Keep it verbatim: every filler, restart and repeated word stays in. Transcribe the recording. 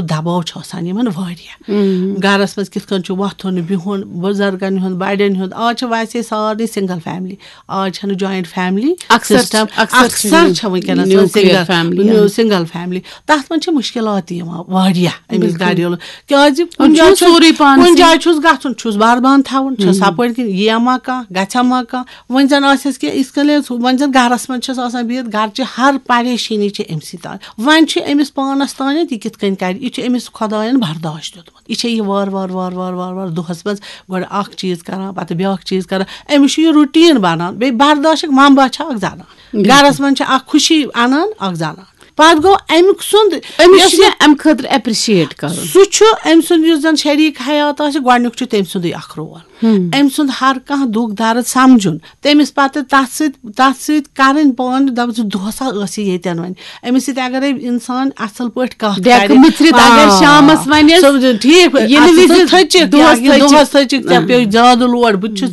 دباو چھُ آسان یِمن واریاہ۔ گرس منٛز کِتھ کٔنۍ چھُ وۄتھُن بِہُن، بُزرگن ہُنٛد، بڑٮ۪ن ہُنٛد۔ آز چھِ ویسے سارنٕے سنگل فیملی، آز چھنہٕ جوائنٹ فیملی اکثر سسٹم۔ اکثر چھِ اکثر چھِ وٕنکیٚنس nuclear single family۔ Single family. تتھ منٛز چھِ مشکلات تہِ یِوان واریاہ أمِس بِلکُل۔ گریلو، کیازِ کُنہِ چھُ جایہِ چھُس سورُے پانسٕے۔ کُنہِ جایہِ چھُس گژھُن، چھُس بار بان تھاوُن، چھُس ہپٲرۍ کِنۍ یِیا ما کانٛہہ، گژھیا ما کانٛہہ۔ وۄنۍ زن آسٮ۪س کہِ یِتھ کٔنۍ ٲس، وۄنۍ زن گرس منٛز چھس آسان بِہِتھ، گرچہِ ہر پریشٲنی چھِ أمۍ سٕے تام۔ وۄنۍ چھُ أمِس پانس تانٮ۪تھ یہِ کِتھ کٔنۍ کرِ، یہِ چھُ أمِس خۄداین برداشت دیُتمُت۔ یہِ چھےٚ یہِ وارٕ وارٕ وارٕ وارٕ وارٕ وارٕ دۄہس منٛز گۄڈٕ اکھ چیٖز کران، پتہٕ بیاکھ چیٖز کران۔ أمِس چھُ یہِ routine بنان۔ بیٚیہِ برداشُک منبع چھِ اکھ زنان۔ گرس منٛز چھِ اکھ خوشی انان اکھ زنان۔ پتہٕ گوٚو امیُک سُنٛد، أمِس یۄس چھُ یہِ مےٚ امہِ خٲطرٕ ایپریشیٹ کرُن۔ سُہ چھُ أمۍ سُنٛد یُس زَن شریٖک حیات آسہِ، گۄڈٕنیُک چھُ تٔمۍ سُنٛدُے اَکھ رول۔ أمۍ سُنٛد ہر کانٛہہ دُکھ درد سَمجُن، تٔمِس پَتہٕ تَتھ سۭتۍ تَتھ سۭتۍ کَرٕنۍ پانہٕ، دَپُن زِ دۄہَس ہا ٲس یہِ ییٚتٮ۪ن وۄنۍ۔ أمِس سۭتۍ اگرے اِنسان اَصٕل پٲٹھۍ کَتھ ڈٮ۪کہٕ کَرِ، مٕژرِتھ اگر آ، شامَس وَنٮ۪س، سَمجُن، ٹھیٖک پٲٹھۍ، ییٚلہِ اَصٕل وِزِ پٲٹھۍ تھٔچِکھ، دۄہَس یا یہِ دۄہَس تھٔچِکھ۔ تھٔچِکھ، ژےٚ پیوٚو زیادٕ لوڈ، بہٕ تہِ چھُس